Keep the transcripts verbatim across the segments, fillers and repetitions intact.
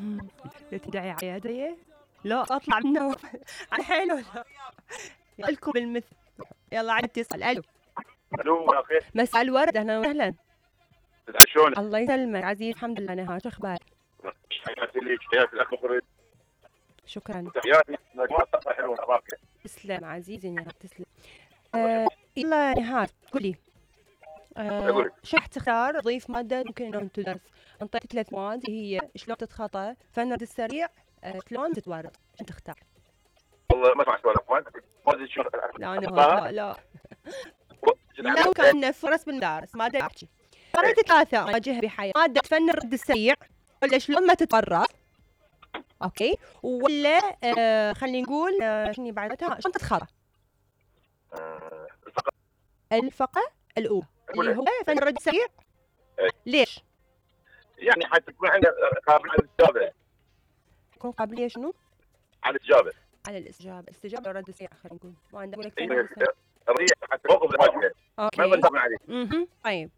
مم. تدعي على يدي لا اطلع منه على حيله لا لكم بالمثل. يلا عاد تسأل. الو الو يا اخي. مساء الورد، اهلا وسهلا. شلونك؟ الله يسلمك عزيز، الحمد لله. نهار شو اخبارك؟ حياتي ليك، حياتي الاخ مخرج. شكرا. تحياتي مجموعة حلوة أخبارك. تسلم عزيزي نهار، تسلم. آه يلا نهار قولي آه شو راح تختار؟ ضيف مادة ممكن انه تدرس. انطيت ثلاث مواد هي شلون تتخطى، فن الرد السريع، آه شلون تتورط. شو تختار؟ والله ما اسمع سؤالك. ما شلون. لا لا لا لو كان فرص بالمدارس مادة احكي قريت ثلاثة مواجهة بحياة، مادة فن الرد السريع ولا شلون ما تتورط، اوكي، ولا آه خلينا نقول آه شنو بعدها شلون تتخطى. آه الفقرة الأولى اللي هو فن الرد السريع. ليش؟ يعني حتى تكون عندنا قابلية على الاستجابة. تكون قابلية شنو؟ على الاستجابة. على الاستجابة، استجابة الرد السريع خلينا نقول. ما عندك لك ريح حتى موقف المواجهة. اوكي. ما يغلبون عليك. اها طيب.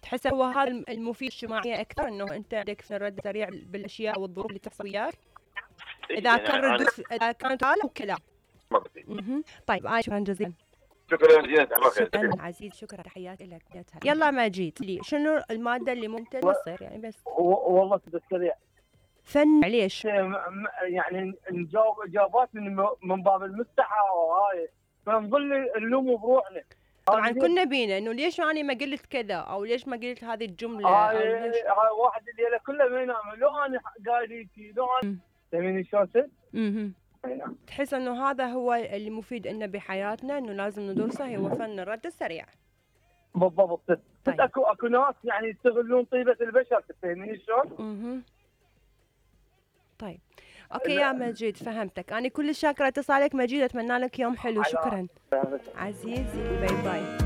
تحس هو هذا المفيد اجتماعيا اكثر، انه انت عندك في الرد السريع بالاشياء والظروف اللي تحصل وياك. اذا كان رد اذا كانت هذا وكلام. اها طيب آه شكرا جزيلا. شكرا جزيلا. شكرا عزيز، شكرا، تحياتي لك. يلا ماجد لي شنو الماده اللي ممكن تصير يعني بس والله كنت سريع فن. ليش؟ يعني نجاوب اجابات من من باب المستحى وهاي، فنظل نلوم بروحنا. طبعا كنا بينا انه ليش انا ما قلت كذا او ليش ما قلت هذه الجمله. هاي هاي واحد اللي كله ما ينام لو انا قايلتي لو انا فهميني شلون؟ اها تحس انه هذا هو اللي مفيد لنا بحياتنا، انه لازم ندرسه، هو فن الرد السريع. بالضبط. طيب. بس اكو اكو ناس يعني يستغلون طيبه البشر، تفهميني شلون؟ اها طيب اوكي يا مجيد فهمتك. انا كل شاكره اتصالك مجيد، اتمنى لك يوم حلو. شكرا عزيزي، باي باي.